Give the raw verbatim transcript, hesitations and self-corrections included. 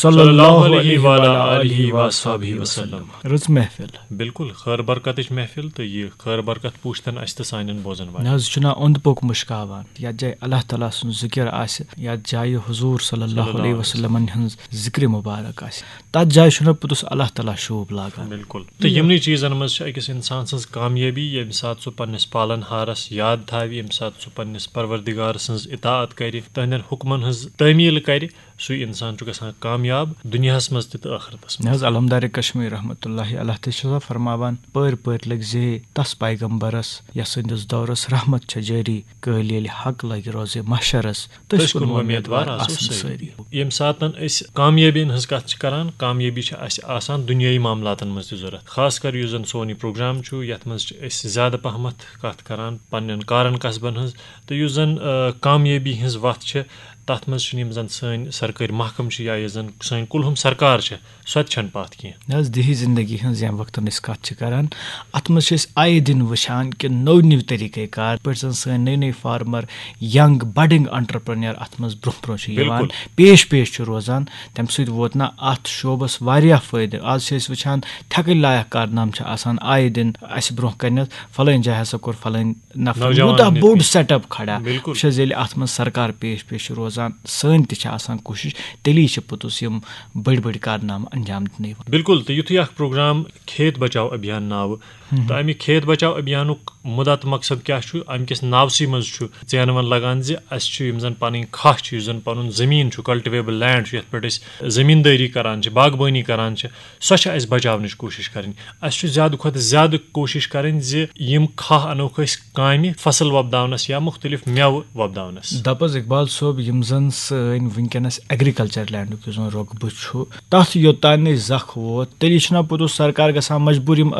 صلی اللہ علیہ وعلی آلہ وصحبہ وسلم۔ رٕژ محفل۔ بِلکُل، خٲر برکتٕچ محفل تہٕ یہِ خٲر برکت پوٗشتن اَسہِ تہٕ سانٮ۪ن بوزن والٮ۪ن۔ نہ حظ، چھُنہ اوٚنٛد پوٚک مُشکاوان۔ یَتھ جایہِ اللہ تعالیٰ سُنٛد ذِکِر آسہِ، یَتھ جایہِ حضوٗر صلی اللہ علیہ وسلمن ہٕنٛز ذِکرِ مُبارک آسہِ، تَتھ جایہِ چھُنہ پوٚتُس اللہ تعالیٰ شوٗب لاگان۔ بِلکُل۔ تہٕ یِمنٕے چیٖزن منٛز چھِ أکِس اِنسان سٕنٛز کامیٲبی، ییٚمہِ ساتہٕ سُہ پننِس پالن ہارس یاد تھاوِ، ییٚمہِ ساتہٕ سُہ پننِس پروردگار سٕنٛز اطاعت کرِ، تٕہنٛدٮ۪ن حُکمن ہٕنٛز تعمیٖل کرِ، سُے اِنسان چھُ گژھان کامیاب دُنیاہَس منٛز تہِ تہٕ ٲخرتَس منٛز۔ نہ حظ، علمدار کشمیر رحمتہ اللہ علیہ تہِ چھُ سا فرماوان، پٲرۍ پٲرۍ لٔگۍ زے تَس پیغمبرس، یَس سٕنٛدِس دورس رحمت چھےٚ جٲری، قٲلۍ ییٚلہِ حق لگہِ روزِ محشرس، تٔسۍ کُن وۄمیدوار آسو سٲری۔ ییٚمہِ ساتَن أسۍ کامیٲبی ہٕنٛز کَتھ چھِ کران، کامیٲبی چھِ اَسہِ آسان دُنیٲیی معاملاتَن منٛز تہِ ضوٚرَتھ، خاص کر یُس زَن سون یہِ پروگرام چھُ، یَتھ منٛز چھِ أسۍ زیادٕ پَہمَتھ کَتھ کران پننٮ۪ن کارَن کسبَن ہٕنٛز، تہٕ یُس زَن، آ، کامیٲبی ہٕنٛز وَتھ چھِ، تَتھ منٛز چھِنہٕ یِم زَن سٲنۍ سرکٲرۍ محکمہٕ چھِ یا یُس زَن سٲنۍ کُلہُم سرکار چھِ، سۄ تہِ چھَنہٕ پَتھ کینٛہہ۔ نہ حظ، دیہی زندگی ہٕنٛز ییٚمہِ وقتہٕ أسۍ کَتھ چھِ کَران، اَتھ منٛز چھِ أسۍ آیہِ دِن وٕچھان کہِ نٔوۍ نٔوۍ طٔریٖقہٕ کار، پٲٹھۍ زَن سٲنۍ نٔوۍ نٔوۍ فارمر، ینگ بڈنگ انٹرپرینر اَتھ منٛز برونٛہہ برونٛہہ چھِ یِوان، بِلکُل۔ پیش پیش چھُ روزان۔ تَمہِ سۭتۍ ووت نہ اَتھ شعبَس واریاہ فٲیدٕ۔ آز چھِ أسۍ وٕچھان، تھٮ۪کٕنۍ لایق کارنامہٕ چھِ آسان آیہِ دِن اَسہِ برونٛہہ کَنٮ۪تھ، فلٲنۍ جایہِ ہسا کوٚر فلٲنۍ نفرن نوجوانن یوٗتاہ یِتھ بوٚڑ کٔنۍ۔ سیٹ اپ کھڑا۔ بِلکُل۔ وٕچھ حظ، ییٚلہِ اَتھ منٛز سرکار پیش پیش چھِ روزان، سٲنۍ تہِ چھِ آسان کوٗشِش، تیٚلی چھِ پوٚتُس یِم بٔڑۍ بٔڑۍ کارنامہٕ انجام دِنہٕ یِوان۔ بِلکُل، تہٕ یُتھُے اکھ پروگرام کھیت بچاو ابھیان ناوٕ، تہٕ اَمہِ کھیت بچاو ابھیانُک مُدعا تہٕ مقصد کیٛاہ چھُ؟ اَمہِ کِس ناوسٕے منٛز چھُ ژینوَن لگان زِ اَسہِ چھُ یِم زَن پَنٕنۍ کھاہ چھِ، یُس زَن پَنُن زٔمیٖن چھُ، کلٹِویبل لینڈ چھُ، یَتھ پٮ۪ٹھ أسۍ زٔمیٖندٲری کران چھِ، باغبٲنی کران چھِ، سۄ چھِ اَسہِ بچاونٕچ کوٗشِش کَرٕنۍ۔ اَسہِ چھُ زیادٕ کھۄتہٕ زیادٕ کوٗشِش کَرٕنۍ زِ یِم کھاہ اَنوکھ أسۍ کامہِ فصل وۄپداونَس یا مُختٔلِف مٮ۪وٕ وۄپداونَس۔ دَپ حظ اقبال صٲب، یِم زَن سٲنۍ وٕنکیٚنَس ایگریکلچر لینڈُک یُس زَن رۄقبہٕ چھُ، تَتھ یوٚتام نہٕ زَکھ ووت، تیٚلہِ چھُنہ پوٚتُس سرکار گژھان مجبوٗر یِم